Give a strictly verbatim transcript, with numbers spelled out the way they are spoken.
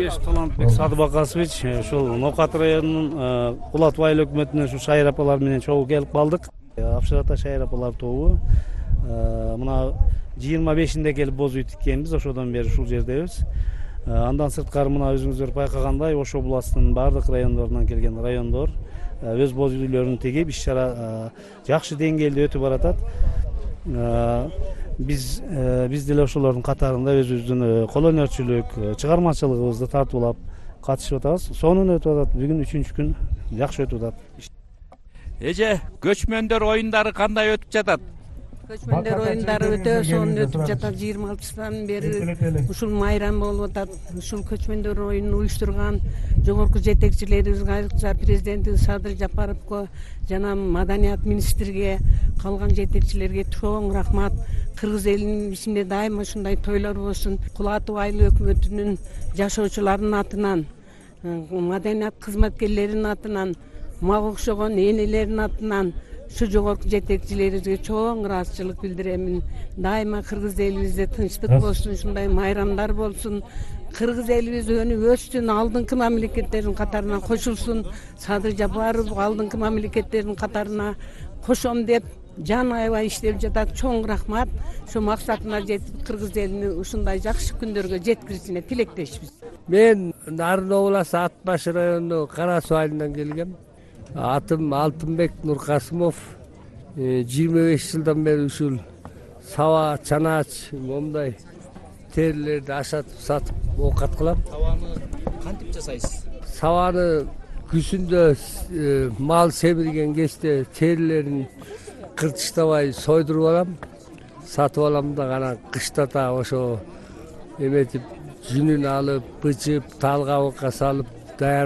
кеңеш Талантбек Садыбакасович, ушул Ноокат районунун Кулатов айыл өкмөтүнөн ушу шайыр апалар менен чогуу келип калдык. Апшыр ата шайыр апалар тобу мына жыйырма бешинде келип боз үй тиккенбиз, ошодон бери ушул жердебиз. Андан сырткары мына өзүңүздөр байкагандай Ош областынын бардык райондорунан келген райондор өз боз үйлөрүн тигип, иш чара жакшы деңгээлде өтүп баратат. Биз биз деле ошолордун катарында өзүбүздүн кол өнөрчүлүк, чыгармачылыгыбызды тартуулап катышып атабыз. Сонун өтүп атат. Бүгүн үчүнчү күн жакшы өтүп атат. Эже, көчмөндөр оюндары кандай өтүп жатат? Көчмөндөр оюндары өтө сонун өтүп жатат. жыйырма алтысынан бери ушул майрам болуп атат. Ушул көчмөндөр оюнун уюштурган жогорку жетекчилерибизге, айрыкча президентибиз Садыр Жапаровго жана маданият министрге, калган жетекчилерге чоң рахмат. Кыргыз элинин ичинде дайыма ушундай тойлор болсун. Кулатов айыл өкмөтүнүн жашоочуларынын атынан, маданият кызматкерлеринин атынан, мага окшогон энелердин атынан ушу жогорку жетекчилерибизге чоң ыраазычылык билдиремин. Дайыма кыргыз элибизде тынчтык болсун, ушундай майрамдар болсун. Кыргыз элибиз өнүп өссүн, алдыңкы мамлекеттердин катарына кошулсун. Садыр Жапаров алдыңкы мамлекеттердин катарына кошом деп жан аябай иштеп жатат. Чоң рахмат. Ошо максатына жетип, кыргыз элини ушундай жакшы күндөргө жеткиришине тилектешпиз. Мен Нарын областы Ат баш району Кара Суу айылынан келгем. Атым Алтынбек Нуркасымов. жыйырма беш жылдан бери ушул саба, чанаач, момундай терилерди ашатып сатып оокат кылам. Сабаны кантип жасайсыз? Сабаны күзүндө мал семирген кезде терилерин кыртыштабай сойдуруп алам, сатып алам да анан кыштата ошо эметип жүнүн алып, бычып, талкабыкка салып даяр